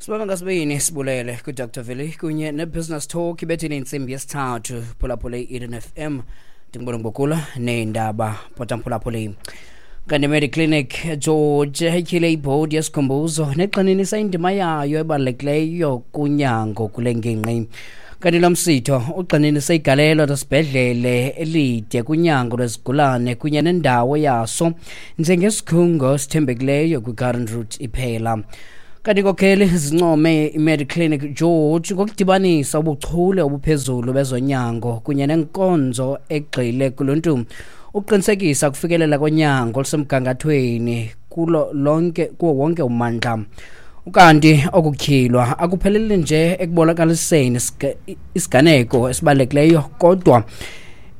Sibaba ngasibini sibulele kuDr Veli kunye neBusiness Talk ibethile intsimbi yesithathu. Phulaphule i-Eden FM, ndingubona ngokula neendaba potamphulaphuli. Kanti Mediclinic George ityhile ibhodi yesikhumbuzo negxininisa indima yayo ebalulekileyo kunyango kule ngingqi. Kanti lo msitho ugxininise igalelo lesibhedlele elide kunyango lwezigulane kunye nendawo yaso njengesikhungo esithembekileyo kwi-Garden Route iphela. Kanti inkokheli zincome iMediclinic George ngokudibanisa ubuchule obuphezulu bezonyango kunye nenkonzo egxile kuluntu ukuqinisekisa ukufikelela konyango olusemgangathweni kulo lonke kuwo wonke ummandla. Ukanti okutyhilwa akupheleli nje ekubonakaliseni isiganeko esibalulekileyo, kodwa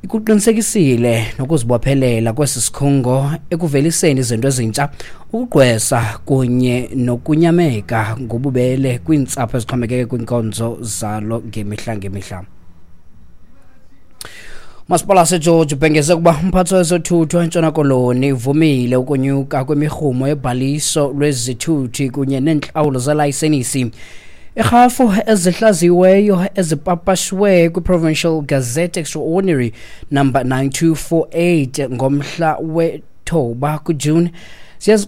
ikuqinisekisile nokuzibophelela kwesi sikhungo ekuveliseni izinto ezintsha, ukugqwesa kunye nokunyameka ngobubele kwiintsapho ezixhomekeke kwiinkonzo zalo ngemihla ngemihla. Umasipala waseGeorge ubhengeze ukuba umphathi wezothutho eNtshona Koloni uvumile ukunyuka kwemirhumo yobhaliso lwezithuthi kunye neentlawulo zelayisenisi. Irhafu ezihlaziyiweyo ezipapashiwe kwi-Provincial Gazette Extraordinary number 9248 ngomhla we-9 kuJuni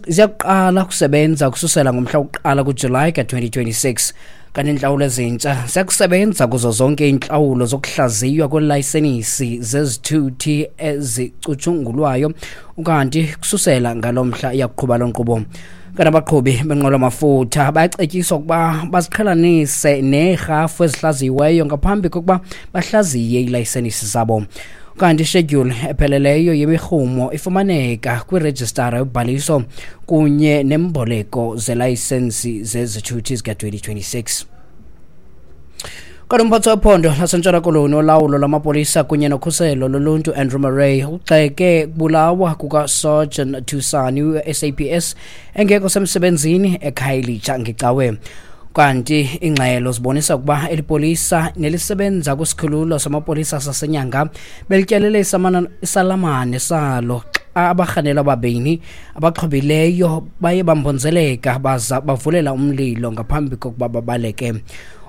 ziyakuqala ukusebenza ukususela ngomhla wokuqala kuJulayi ka-2026. Kanti iintlawulo ezintsha ziyakusebenza kuzo zonke iintlawulo zokuhlaziywa kwelayisenisi zezithuthi ezicutshungulwayo, ukanti kususela ngalo mhla iyakuqhuba loo nkqubo. Kanti abaqhubi benqwelo-mafutha bayacetyiswa ukuba baziqhelanise neerhafu ezihlaziyiweyo ngaphambi kokuba bahlaziye iilayisenisi zabo. Kanti ishedyuli epheleleyo yemirhumo ifumaneka kwirejistara yobhaliso kunye nemboleko zelayisensi zezithuthi zika-2026. Kanti umphathi wephondo laseNtshona Koloni olawulo lwamapolisa kunye nokhuselo loluntu Andrew Murray ugxeke kubulawa kukaSergeant Thusani we-SAPS engekho semsebenzini eKhayelitsha ngecawe. Kanti ingxelo zibonisa ukuba eli polisa nelisebenza kwisikhululo samapolisa saseNyanga belityelele isalamane salo xa abarhanelwa ababini abaxhobileyo baye bambonzeleka baza bavulela umlilo ngaphambi kokuba babaleke.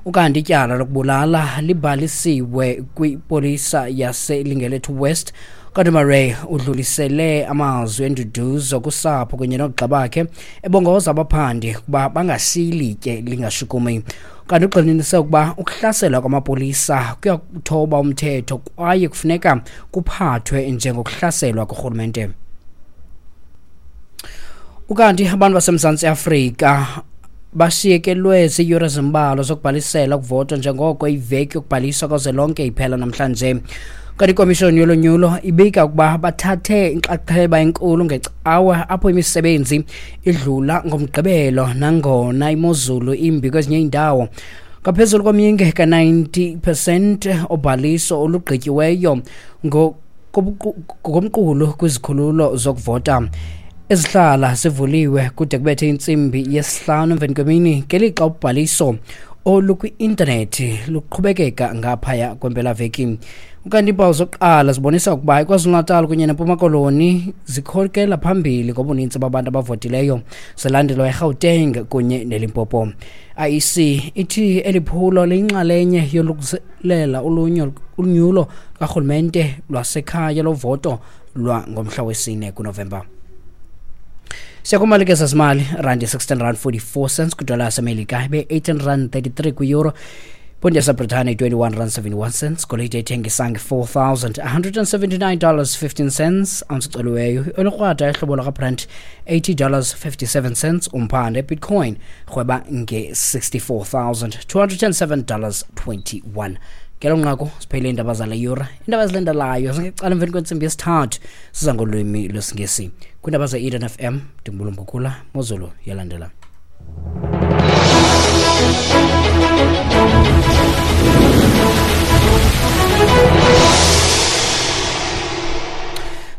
Ukanti ityala lokubulala libhalisiwe kwipolisa yaseLingelethu West. Kanti Murray udlulisele amazwi enduduzo kusapho kunye noogxa bakhe, ebongoza abaphandi ukuba bangashiyi litye lingashukumi. Kanti ugxininise ukuba ukuhlaselwa kwamapolisa kuyakuthoba umthetho kwaye kufuneka kuphathwe njengokuhlaselwa kurhulumente. Ukanti abantu baseMzantsi Afrika bashiyekelwe ziiyure ezimbalwa zokubhalisela ukuvota njengoko iveki yokubhaliswa kazwelonke iphela namhlanje. Kanti ikomishoni yolonyulo ibika ukuba bathathe inxaxheba enkulu ngecawa apho imisebenzi idlula ngoMgqibelo nangona imozulu imbi kwezinye iindawo. Ngaphezulu komyinge ka-90 percent obhaliso olugqityiweyo ngokomqulu kwizikhululo zokuvota ezihlala zivuliwe kude kubethe intsimbi yesihlanu emveni kwemini, ngelixa ubhaliso olukwi-intanethi luqhubekeka ngaphaya kwempelaveki. Ukanti iimpawu zokuqala zibonisa ukuba iKwaZulu-Natal kunye neMpuma Koloni zikhokela phambili ngobunintsi babantu abavotileyo, zilandelwa iGauteng kunye neLimpopo. IEC ithi eli phulo liyinxalenye yolungiselela unyulo karhulumente lwasekhaya lovoto lwangomhla wesine kuNovemba. Siyakumalike zezimali: randi 16 rand 44 cents kwidola yaseMelika, ibe 18 rand 33 kwi-euro, iponti yaseBritane 21 rand 71 cents, golide ithengisa nge-$4,179 15 cents ounce iceliweyo, olukrwada ehlobo lakaBrent $80 57 cents umphande, bitcoin rhweba nge-$64,207 21. Ngelo nqaku siphele iindaba zale yure. Iindaba ezilandelayo zingecala emveni kwentsimbi yesithathu siza ngolwimi lwesiNgesi. Kwiindaba ze-Eden FM, ndingubulumbukhula mozulu yalandela.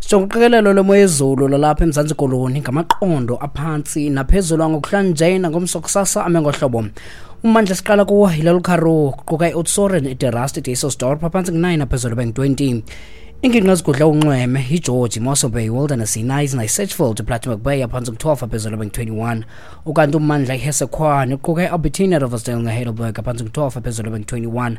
Sijonga uqikelelo lwemo yezulu lwalapha eMzantsi Koloni ngamaqondo aphantsi naphezulu angokuhlanje nangomso kusasa ame ngohlobo. Ummandla siqala kuwo yiLalukaroo, kuquka iOudtshoorn, iDe Rust, iDysselsdorp, aphantsi ngu-9, aphezulu bengu-20. Iingingqi ezigudla unxweme yiGeorge, iMossel Bay, Wilderness, iKnysna, iSedgefield, iPlattenberg Bay aphantsi ku-12 aphezulu bengu-21. Ukanti ummandla iHessequa kuquka iAlbertina, Riversdale neHeidelberg aphantsi ku-12 aphezulu bengu-21.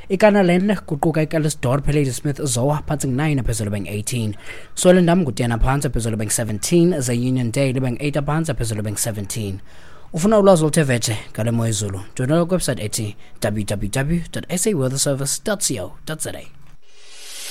IKanalen kuquka iCalitzdorp, iLadysmith, Zoar phantsi ku-9 aphezulu bengu-18. Swellendam ngu-10 aphantsi aphezulu bengu-17, ze Uniondale ibe ngu-8 aphantsi aphezulu bengu-17. Ufuna ulwazi oluthe vetshe ngale mo yezulu, joyinela kwiwebsite ethi www.saweatherservice.co.za.